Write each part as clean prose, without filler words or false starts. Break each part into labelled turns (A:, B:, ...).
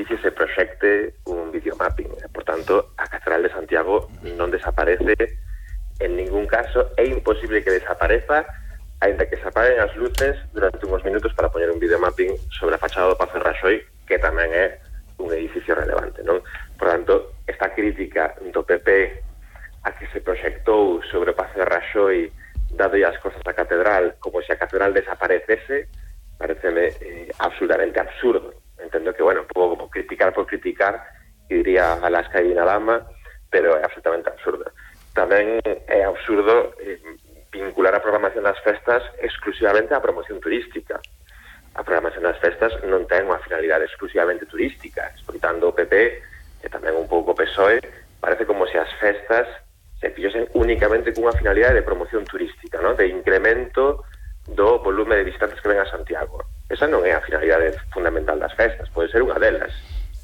A: edificio se proxecte un videomapping. Por tanto, a Catedral de Santiago non desaparece en ningún caso. É imposible que desapareza, aínda que se apaguen as luces durante uns minutos para poñer un videomapping sobre a fachada do Pazo de Raxoi, que tamén é un edificio relevante, non? Por tanto, esta crítica do PP a que se proxectou sobre o Pazo de Raxoi dado as cosas da catedral como se a catedral desaparecese, pareceme absolutamente absurdo. Entendo que, bueno, pouco como criticar por criticar, diría Alaska y Dinalama, pero é absolutamente absurdo. Tamén é absurdo vincular a programación das festas exclusivamente á promoción turística. A programación das festas non ten unha finalidade exclusivamente turística. Escoitando o PP, e tamén un pouco o PSOE, parece como se as festas se fixosen únicamente cunha finalidade de promoción turística, ¿no? De incremento do volume de visitantes que ven a Santiago. Esa non é a finalidade fundamental das festas, pode ser unha delas,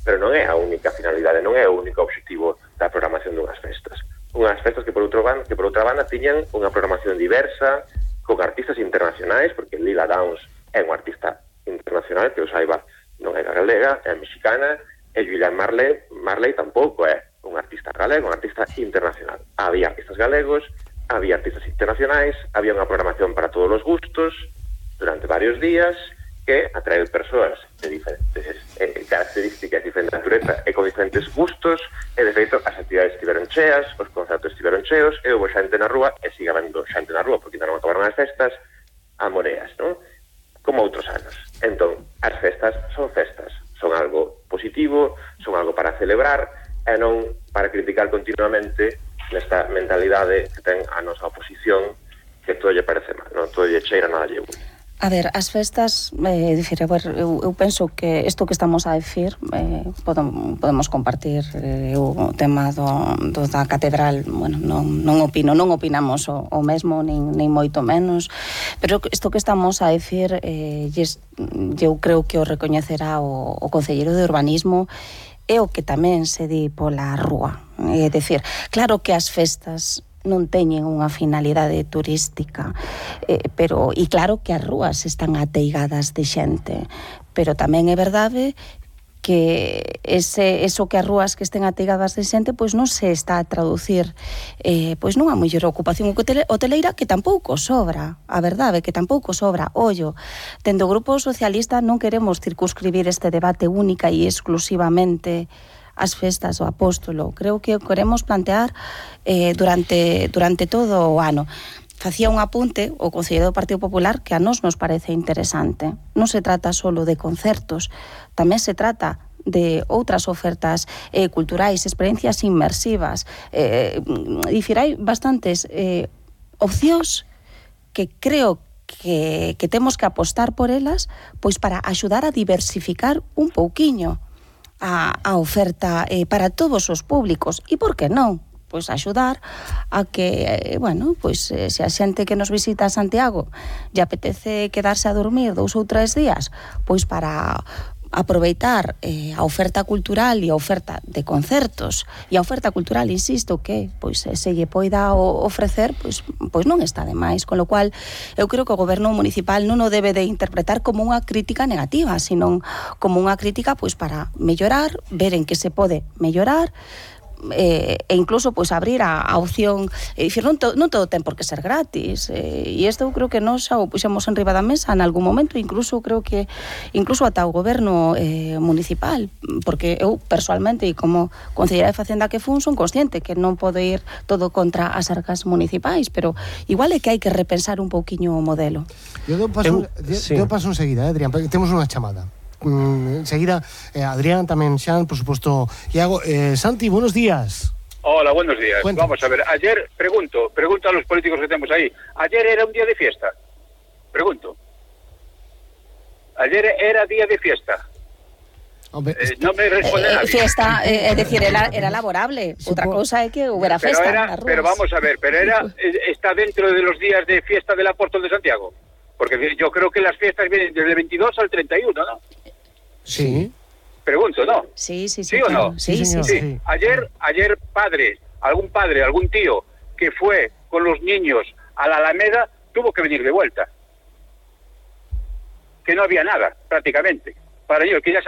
A: pero non é a única finalidade, non é o único obxectivo da programación dunhas festas. Unhas festas que por outra banda tiñan unha programación diversa, con artistas internacionais, porque Lila Downs é unha artista internacional, que o saiba, non é galega, é mexicana, e Julian Marley tampouco é un artista galego, un artista internacional. Había artistas galegos, había artistas internacionais, había unha programación para todos os gustos durante varios días que atrae persoas de diferentes características, diferente natureza e con diferentes gustos, e de feito as actividades estiveron cheas, os concertos estiveron cheos, e houve xente na rúa, e siga vendo xente na rúa porque non acabaron as festas a moreas, non? Como outros anos. Entón, as festas, son algo positivo, son algo para celebrar e non para criticar continuamente nesta mentalidade que ten a nosa oposición, que todo lle parece mal, non? Todo lle cheira, nada lle une.
B: A ver, as festas, eu penso que isto que estamos a decir podemos compartir o tema do da catedral. Bueno, non opinamos o mesmo, nin moito menos, pero isto que estamos a decir eu creo que o recoñecerá o concelleiro de urbanismo, é o que tamén se di pola rúa. É dicir, claro que as festas non teñen unha finalidade turística, pero e claro que as rúas están ateigadas de xente, pero tamén é verdade que eso que as rúas que estén ateigadas de xente pois non se está a traducir pois nunha mellor ocupación hoteleira, que tampouco sobra, a verdade que tampouco sobra. Ollo, dende o Grupo Socialista non queremos circunscribir este debate única e exclusivamente as festas do Apóstolo. Creo que queremos plantear durante todo o ano. Facía un apunte o concelleiro do Partido Popular que a nos parece interesante. Non se trata só de concertos, tamén se trata de outras ofertas culturais, experiencias inmersivas. Dicir, hai bastantes opcións que creo que temos que apostar por elas, pois para axudar a diversificar un pouquiño a oferta para todos os públicos. E por que non? Pois axudar a que, bueno, pois se a xente que nos visita a Santiago lle apetece quedarse a dormir 2 ou 3 días, pois para aproveitar a oferta cultural e a oferta de concertos e a oferta cultural, insisto, que pois se lle poida ofrecer, pois non está de máis, con lo cual eu creo que o goberno municipal non o debe de interpretar como unha crítica negativa, sino como unha crítica pois para mellorar, ver en que se pode mellorar, e incluso pois abrir a opción, dicir, non todo ten por que ser gratis, e isto eu creo que nós xa o puxemos en riba da mesa en algún momento, incluso creo que ata o goberno municipal, porque eu persoalmente e como concelleira de Facenda que fun, son consciente que non pode ir todo contra as arcas municipais, pero igual é que hai que repensar un pouquiño o modelo.
C: Eu paso enseguida, Adrián, temos unha chamada. Enseguida, Adrián, tamén Xan, por suposto, Iago. Santi, buenos días.
D: Hola, buenos días.
C: Cuéntanos.
D: Vamos a ver, ayer, pregunto a los políticos que tenemos ahí, ¿ayer era un día de fiesta? Pregunto. ¿Ayer era día de fiesta?
C: Hombre,
D: no me responde nadie.
B: Fiesta, es decir, era laborable. Otra cosa é que hubiera festa nas rúas.
D: Pero vamos a ver, ¿está dentro de los días de fiesta del Apóstol de Santiago? Porque yo creo que las fiestas vienen desde el 22 al 31, ¿no?
C: Sí.
D: Pregunto, ¿no?
B: Sí,
D: ¿Sí o no?
B: Sí.
D: Ayer algún tío que fue con los niños a la Alameda tuvo que venir de vuelta. Que no había nada, prácticamente. Para ellos, que ya